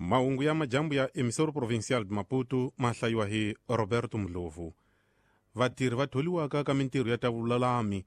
Mahungu ya majambu ya Emissora Provincial de Maputo ma hlayiwa hi Roberto Mdlovu. Vatirhi va tholiwaka ka mintirho ya ta vululami,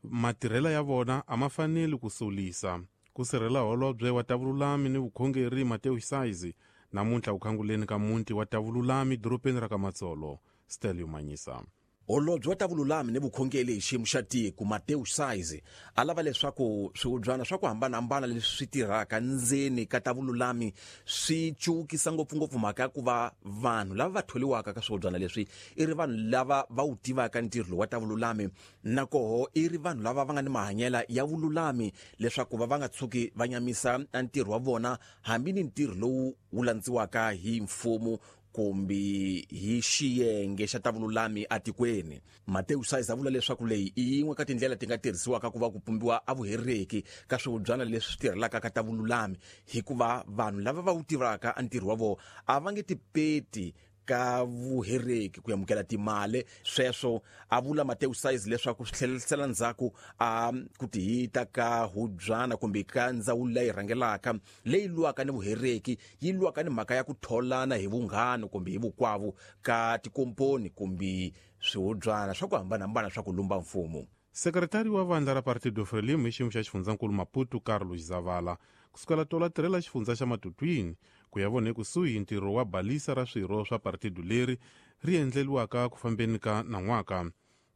matirhela ya vona a ma faneli ku solisa. Ku sirhela holobye wa ta vululami ni vukhongeri Mateo Saizi namuntlha ku khanguleni ka muti wa ta vululami dorobeni ra ka Matsolo. Stelio Manyisa. Holobye wa ta vululami ni vukhongeri hi xiyimo xa tiko Mateo Saizi a lava leswaku swihubyana swa ku hambanahambana leswi swi tirhaka ndzeni ka ta vululami swi cukisa ngopfungopfu mhaka ya ku va vanhu lava va tholiwaka ka swihubyana leswi i ri vanhu lava va wu tivaka ntirho lowu wa ta vululami, na koho i ri vanhu lava va nga ni mahanyela ya vululami leswaku va va nga tshuki va nyamisa ntirho wa vona hambi ni ntirho lowu wu landziwaka hi mfumo kumbe hi xiyenge xa ta vululami atikweni. Mateo Saiz a vula leswaku leyi i yin'we ka tindlela ti nga tirhisiwaka ku va ku pumbiwa a vuhereki ka swihubyana leswi swi tirhelaka ka ta vululami, hikuva vanhu lava va wu tivaka a ntirho wa vona a va nge tipeti ka vuhereki ku amukela timali. Sweswo a vula Mateo Saiz leswaku swi tlherisela ndzhaku a ku tihita ka hubyana kumbe ka ndzawulo leyi rhangelaka leyi lwaka ni vuhereki, yi lwaka ni mhaka ya ku tholana hi vunghana kumbe hi vukwavu ka tikomponi kumbe swihubyana swa ku hambanahambana swa ku lumba mfumo. Sekretari wa vandla ra Partido Frelimo hi xiyimo xa xifundzankulu Maputo Carlos Zavala kusukela tola tirhela xifundza xa Matutwini ku ya vona ekusuhi ntirho wa balisa ra swirho swa partido leri ri endleliwaka ku fambeni ka nan'waka.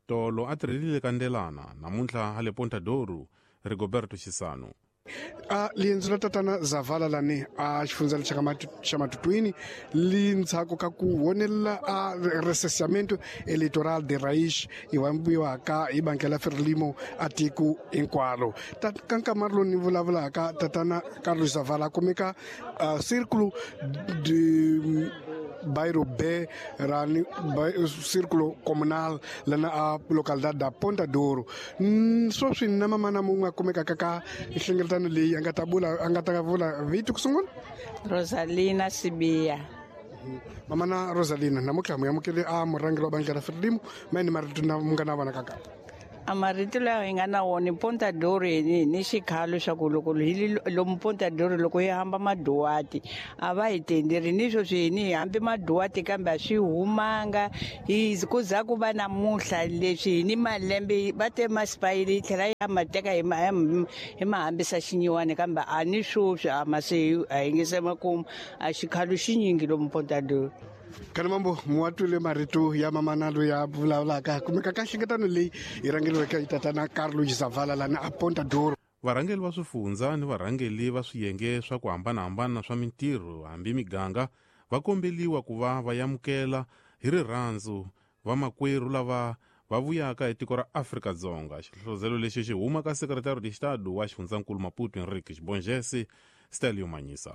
Tolo a tirhelile ka Ndelana, namuntlha hale Ponta Douro. Rigoberto Chisano. A liendzo la tatana Zavala lani a xifundza xa xa Matutwini li ndzhaku ka ku vonelela a recenseamento electoral de raiz yi vambiwaka hi banka la Frelimo a tiko hinkwaro. Ka nkama lowu ni vulavulaka tatana Carlos Zavala kumeka Círculo de Bairro B ra Círculo Comunal lana a localidade da Ponta Douro. Sweswi na mamana mun'we a kumekaka ka nhlengeletano leyi a nga ta vula a nga ta vula vito ku sungula. Rosalina Sibiya. Mamana Rosalina, namuntlha mu amukele a murhangeri wa bandla ra Frelimo, ma ni marito na mu nga na vona kaka. A marito lawa hi nga na wona Ponta Douro hi ni xikhalo xa ku loko hi lomu Ponta Douro loko hi hamba maduwati a va hi tenderi ni sweswi hi ni hi hambi maduwati kambe a swi humanga hi ku za ku va namuntlha leswi hi ni malembe va te masipayili yi tlhela ya ma teka hi ma hi ma hambisa xinyiwani kambe a ni sweswi a ma se a hi nge se makumu a xikhalo xinyingi lomu Ponta Douro. Kana mambo muwatwile marito ya mamana loyi a vulavulaka kumeka ka nhlengeletano leyi yi rhangeriweke hi tatana Carlos Zavala lani a Ponta Douro. Varhangeri va swifundza ni varhangeri va swiyenge swa ku hambanahambana swa mintirho hambi miganga va kombeliwa ku va va amukela hi rirhandzu vamakwerhu lava va vuyaka hi tiko ra Afrika-Dzonga. Xihlohlozelo lexi xi huma ka Secretary de Estado wa xifundzankulu Maputo Henrique Xibongese Stelio Manyisa.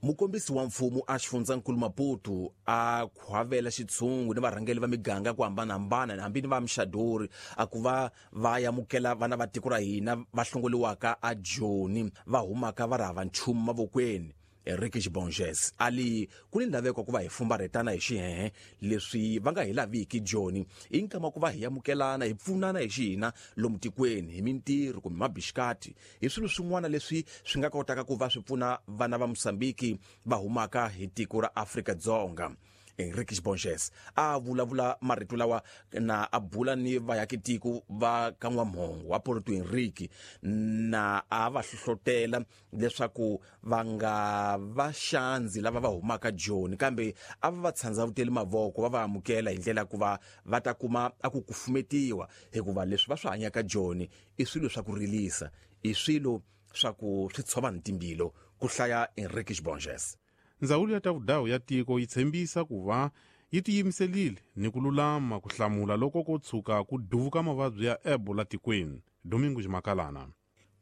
Mukombisi wa mfumo a xifundzankulu Maputo a khwavela xitshungu ni varhangeri va miganga ku hambanahambana hambi ni va mixadori a ku va va amukela vana va tiko ra hina va hlongoliwaka a Joni va humaka va ri hava nchumu mavokweni. Enrique Xibonges a li ku ni laveko ku va hi fumbarhetana hi xihehe leswi va nga hi laviki Joni i nkama ku va hi amukelana hi pfunana hi xihina lomu tikweni hi mintirho kumbe mabixikati hi swilo swin'wana leswi swi nga kotaka ku va swi pfuna vana va Mozambique va humaka hi tiko ra Afrika-Dzonga. Enrique Xibonges a vulavula marito lawa na a bula ni vayakitiko va ka N'wamhongo wa Porto Henrique na a va hlohlotela leswaku va nga va xandzi lava va humaka Joni kambe a va va tshandzavuteli mavoko va va amukela hi ndlela ku va va ta kuma a ku kufumetiwa hikuva leswi va swi hanyaka Joni i swilo swa ku rilisa, i swilo swa ku swi tshova ni timbilo, ku hlaya Enrique Xibonges. Ndzawulo ya ta vudawu ya tiko yi tshembisa ku va yi tiyimiselile ni ku lulama ku hlamula loko ko tshuka ku duvuka mavabyi ya Ebola tikweni. Domingo Ximakalana.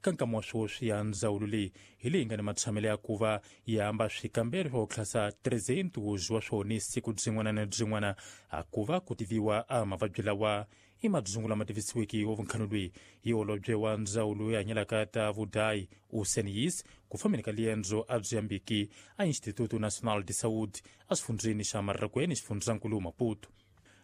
Ka nkama wa sweswi ya ndzawulo leyi hi leyi nga ni matshamelo ya ku va yi hamba swikambelo swa ku tlhasa 300 wa swona siku byin'wana na byin'wana a ku va ku tiviwa a mavabyi lawa i madzungu lama tivisiweke wa vunkhano loyi hi holobye wa ndzawulo ya hanyelaka ta vudayi Useniyis ku fambeni ka liendzo a byi yambiki a Instituto Nacional de Saúde exifundzeni xa Marrakweni xifundzankulu Maputo.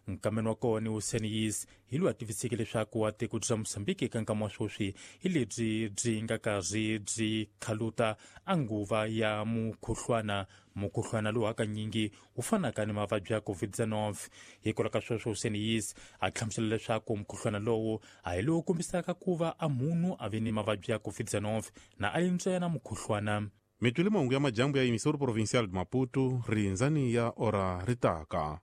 Nkameni wa kona Useniyis hi loyi a tiviseke leswaku a tiko bya Mosambiki eka nkama wa sweswi hi lebyi byi nga karhi byi khaluta a nguva ya mukhuhlwana, mukhuhlwana lowu hakanyingi wu fanaka ni mavabyi ya COVID-19. Hikwalaho ka sweswo Useniyis a hlamusela leswaku mukhuhlwana lowu a hi lowu kombisaka ku va a munhu a ve ni mavabyi ya COVID-19 na a li ntsena mukhuhlwana. Mitwile mahungu ya majambu ya emissora provincial de Maputo, rindzani ya ora ritaka.